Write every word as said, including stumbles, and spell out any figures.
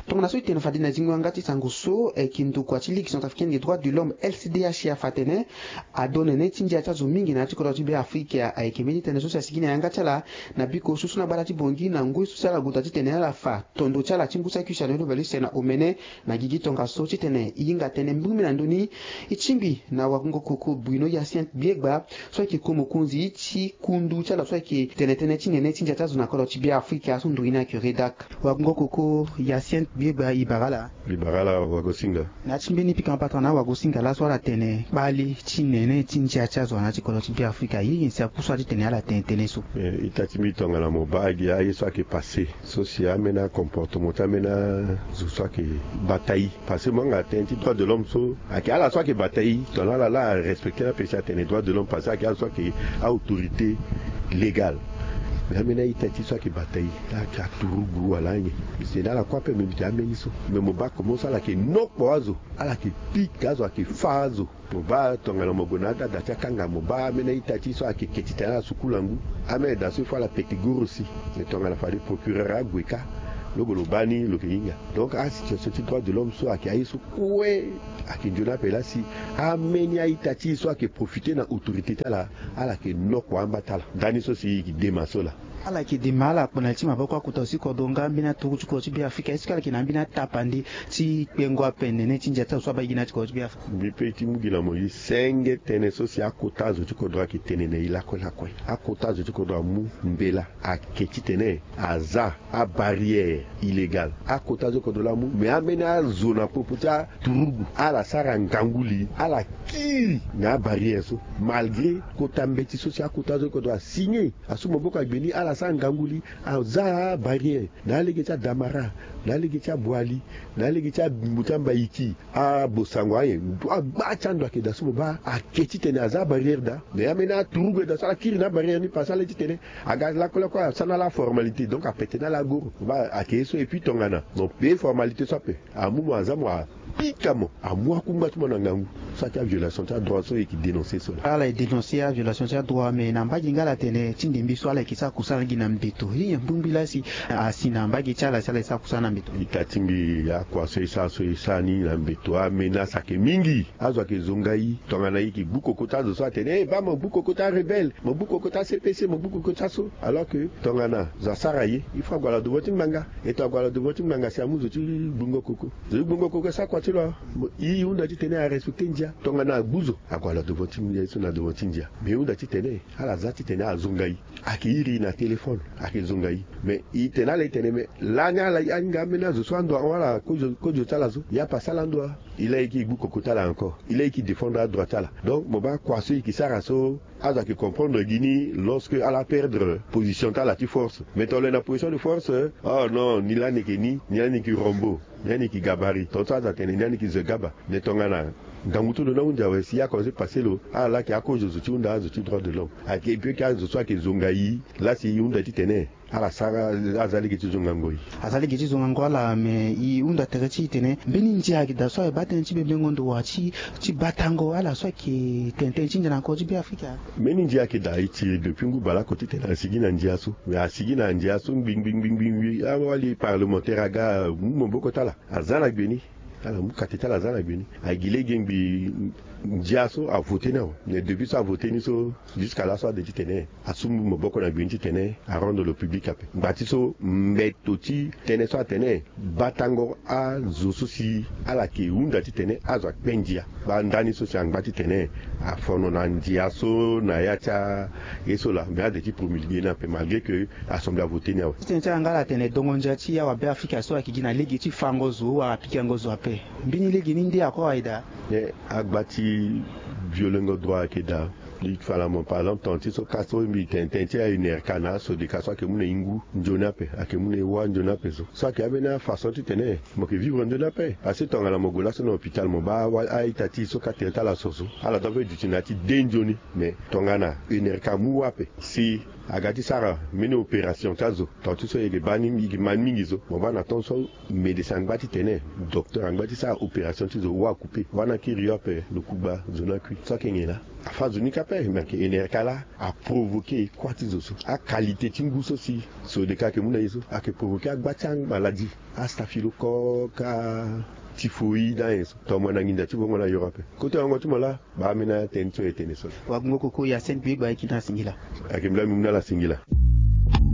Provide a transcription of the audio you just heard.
Tongana so e tene fade na zingo yanga ti sango so, eh, kindokua ti Ligue centrafricaine des droits de l'homme, L C D H, afa atene ado nene ti ndia ti azo mingi na ya ti kodro ti Beafrika ayeke mbeni tënë so si asigi na yanga ti ala na biko susu na gbata ti Bangui na ngoi so si ala guta titene ala fa tondo ti ala ti ngu saki si alondo bale use na omene na gigi tongaso titene e hinga tënë mbirimbiri na ndö ni. E tingbi na wakungo koko Bruno Hyacinthe Biegba so ayeke ko mokonzi ti kundu ti ala so ayeke tene tënë ti nene ti ndia ti azo na kodro ti Beafrika so nduru ni ayeke Redac. Wakungo koko Hyacinthe Biegba, e bara ala. E bara ala wagosinga. Na ya ti mbeni pika mapata na wagosinga laso ala tene kpale ti nene ti ndia ti azo na ya ti kodro ti Beafrika, ye nyen si apusu ala titene ala tene tënë so? Eh, ita ti mbi tongana mo baa gi aye so ayeke passé so si ambeni acomportement ti ambeni azo so ayeke bata e. Parce que mo yanga tënë ti droit de l'homme so ayeke ala so ayeke bata e, tongana ala la arespecté ni ape si atene droit de l'homme parce que ayeke ala so ayeke a-autorité légale. Mais ambeni a-ita ti so ayeke bata e, ayeke aturugu wala anyen. Si na ala kue ape mbi bi tene ambeni so. Mais mo baa comment so ala yeke nokpo azo, ala yeke pika azo, ayeke fâ azo. Mo baa tongana mo gue na adada ti akanga, mo baa ambeni a-ita ti so ayeke ke titene ala sukula ngu. Ambeni da so il faut ala pete goro si. Mais tongana fade procureur ague kâ, lo gue lo baa ni lo yeke hinga. Donc asituation ti droit de l'homme so ayeke aye so kue ayeke nzoni ape laa si ambeni a-ita ti e so ayeke profité na autorité ti ala, ala yeke nokpo amba ti ala. Ndani so si e yeke dema so laa. Ala yeke dema ala kpo na li ti maboko akota zo ti kodro nga ambeni aturugu ti kodro ti Beafrika, est-ce que ala yeke na ambeni atapande ti kpengo ape nene ti ndia ti azo so abaa gi na ya ti kodro ti Beafrika? Mbi pe ti mu gi na mo ye senge tënë so si akota zo ti kodro ayeke tene na e lakue lakue. Akota zo ti kodro amu mbela ake titene aza abarrière illégale. Akota zo kodro laa amu, mais ambeni azo na popo ti aturugu ala sara ngangu li, ala kiri na abarrière so. Malgré kota mbeti so si akota zo kodro asigné, asu maboko agbe ni, ala sara ngangu li, aza abarrière na alege ti Adamara, na alege ti Aboali, na alege ti a-, mbu ti Ambaiki, Abosango aye, agba ti ando ayeke daa so mo baa ake titene aza abarrière daa. Mais ambeni aturugu ayeke daa so ala kiri na abarrière ni parce que ala ye titene aga lakue lakue asara na ala aformalité, donc apete na ala agoro. Mo baa ake ye so, et puis tongana mo pe formalité so ape, amu mo aza mo apika mo, amu akungba ti mo na ngangu. So ayeke aviolation ti adroit so e yeke dénoncer so laa. Ala e dénoncer aviolation ti adroit, mais na mbage nga ala tene ti ndembe so ala yeke sara kusala gi na mbeto. Ye nyen mbirimbiri laa si asi na mbage ti ala si ala e sara kusala na mbeto? Ita ti mbi, akua so e sara so e sara ni na mbeto, amenace ayeke mingi. Azo ayeke zonga e. Tongana e yeke gbu koko ti azo so atene, eh, baa mo gbu koko ti arebelle, mo gbu koko ti a-C P C, mo gbu koko ti aso. Alors que tongana zo asara ye, il faut ague ala devant ti ngbanga. E tongana ague ala devant ti ngbanga si amu zo ti gbungo koko. Zo ti gbungo koko e sara kua ti lo. Mo, e hunda titene arespecté ndia. Tongana agbu zo, ague ala devant ti ndia, e so na devant ti ndia. Mais e hunda titene ala za titene ala zonga e. Ayeke iri e na téléphone, ayeke zonga e. Mais e tene ala e tene, mais lani ala ahinga ambeni azo so ando ahon ala kozo, kozo ti ala so. Ya pase ala ando a. E laa e yeke gbu koko ti ala encore. E laa e yeke défendre adroit ti ala. Donc mo baa kua so e yeke sara so, azo ayeke comprendre gi ni lorsque ala perdre position ti ala ti force. Mais tongana lo yeke na position de force, oh non, ni lani yeke ni, ni lani yeke rombo, ni lani yeke gabarit. Tongaso azo atene ni lani yeke zo gaba. Mais tongana ngangu ti lo ni ahunzi awe si a commencé passé lo, ala laa ayeke akozo zo ti hunda azo ti droit de l'homme. Ayeke, et puis ayeke azo so ayeke zonga e laa si e hunda titene ala sara, aza lege ti zongango e. Aza lege ti zongango ala, mais e hunda tere ti e tene mbeni ndia ayeke daa so ayeke baa tënë ti bebengo ndo wa ti, ti batango ala so ayeke tene tënë ti ndia na kodro ti Beafrika. Mbeni ndia ayeke daa e tiri depuis ngu baleoko titene asigi na ndia so. Mais asigi na ndia so ngbi ngbi ngbi ngbi ngbi, awali parlementaire aga mu maboko ti ala, aza na gbe ni. Ala mu kate ti ala aza na gbe ni. Agi lege ngbi ndia so avoté ni awe. Mais depuis so avoté ni so, jusqu'à laso ade titene asu maboko na gbe ni titene arendre lo public ape. Ngba ti so mbeto ti tënë so atene batango azo so si ala yeke hunda titene azo akpe ndia. Baa ndani so si angba titene afono na ndia so na ya ti aye so laa, mais ade ti promulgué ni ape malgré que assemblée avoté ni awe. Titene ti ala nga ala tene dongo ndia ti awabe Afrika so ayeke gi na lege ti fango zo wala pikango zo ape. Mbeni lege ni nde ako aye daa? Eh, agba ti violengo droit ayeke daa. Mbi fa na mo par exemple, tonga ti so ka so mbi tene tënë ti a-UNRK na aSODECA so ayeke mu na e ngu nzoni ape, ayeke mu na e wâ nzoni ape so. So ayeke ambeni afaçon titene mo yeke vivre nzoni ape. Parce que tongana mo gue laso na hôpital mo baa a-ita ti e so ka tene ti ala so so, ala doit peut duti na ya ti de nzoni. Mais tongana UNRK amu wâ ape si aga ti sara mbeni opération ti azo, tonga ti so e yeke baa ni, e yeke ma ni mingi so, mo baa na temps so médecin angba titene, docteur angba ti sara opération ti zo, wâ akoupe, wâ ni akiri yo ape, lo kugba, zo ni akui. So ayeke nyen laa? Afa zo ni ka pe me ayeke enereka laa, aprovoke ekua ti zo so. Akalité ti ngu so si so de ka ayeke mu na ye so ayeke provoke agba ti amaladi, astaphylocoque, atyphoïde, ayen so. Tomo na nginza ti vongo na Europe. Kote wango ti mo laa, baa ambeni atene so e tene so. Wagungo koko ya sende bi e gba e kina singila. Ayeke mbi laa mbi mu na ala singila.